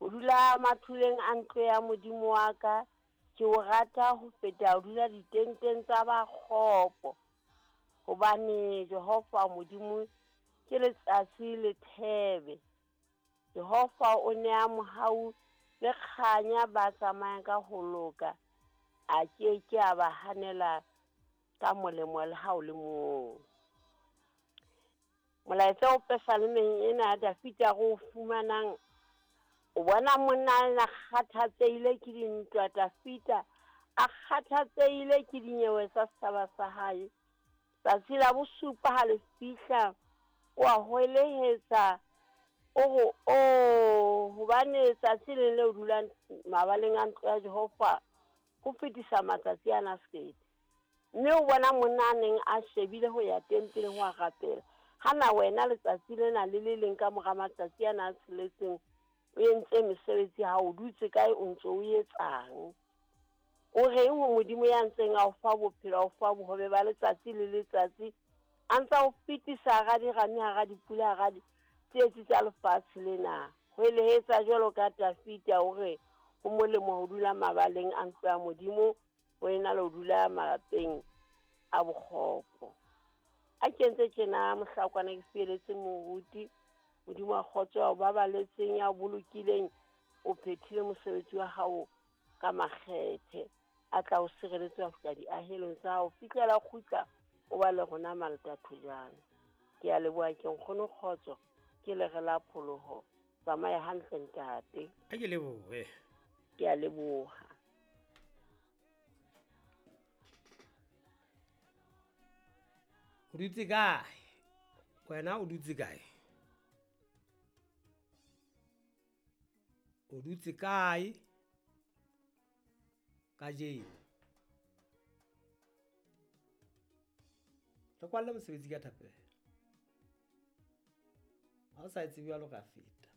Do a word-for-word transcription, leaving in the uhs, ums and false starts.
Ho dula mathuleng a ntlo ya Modimo wa ka, ke o rata ho feta ho dula ditenteng tsa ba kgopo. Hobane Jehova Modimo ke letsatsi le thebe. Jehova o nea mohau le kganya ba tsamayang ka ho loka, a ke ke a ba hanela ka molemo le ha o le mong. Molaetsa o pesalemeng ena ya Dafita re o fumanang, o bona monna a kgathatsehile ke dintwa. Dafita a kgathatsehile ke dinyewe tsa setjhaba sa hae. Tsatsi la bosupa ha le fihla, o a hwelehetsa, o re o hobane tsatsi le le o dulang mabaleng a ntlo ya Jehova ho fetisa matsatsi ana sekete. Mme o bona monna a neng a shebile ho ya tempeleng ho a rapela. Hana wena letsatsi lena le le leng ka mora matsatsi ana a tsheletseng o entse mesebetsi ha o dutse kae, o ntso o etsang? O reng ho Modimo ya ntseng a o fa bophelo, a o fa bohobe ba letsatsi le letsatsi, a ntsa o fetisa hara dirame, hara dipula, hara ditsietsi tsa lefatshe lena? Hwelehetsa jwalo ka Dafita, o re ho molemo ho dula mabaleng a ntlo ya Modimo ho ena le ho dula malapeng a bokgopo. A ke entse tjena mohlakwana ke fieletse moruti. Modimo a kgotso ya o babaletseng, ya o bolokileng, o phethile mosebetsi wa hao ka makgethe, a tla o sireletse ho fihla diahelong tsa hao, fihlela kgutla o ba le rona malata thojana. Ke a leboha, ke nkgono kgotso, ke lere la pholoho. Tsamaya hantle ntate. A ke lebohe. Ke a leboha. O dutse kae? Wena o dutse kae? O dutse kae kajeno? Re kwalle mosebetsi ka thapelo. Ha o sa e tsebe jwalo ka feta.